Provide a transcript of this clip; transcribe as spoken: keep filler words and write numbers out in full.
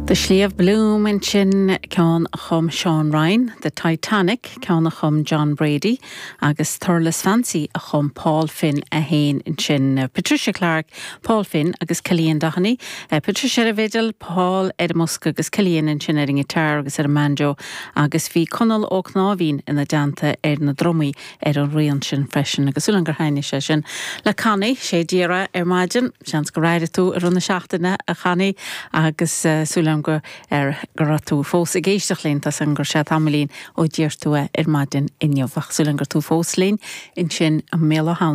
The Sliabh Bloom ansin ceann a chum Sean Ryan, The Titanic ceann a chum John Brady, agus Thurles Fancy a chum Paul Finn a haon ansin Patricia Clark, Paul Finn agus Cillian Doheny, uh, Patricia ar an bhfidil, Paul ar an mbosca agus Cillian ansin ar an ngiotár agus ar an mbanjo, agus bhí Conall Ó Cnáimhín ina dteannta ar na drumaí ar an rian sin freisin agus súil gur thaitin sé sin. Le Connie sé díra ar maidin, seans gur éirigh tú ar na seachtaine a Chonnie agus uh, súil go ar go raibh tú fós ag éisteacht linn tá san gur sé tamaillín ó d'iarr tú ar maidin inniu ach súil gur tú fós linn ansin an méala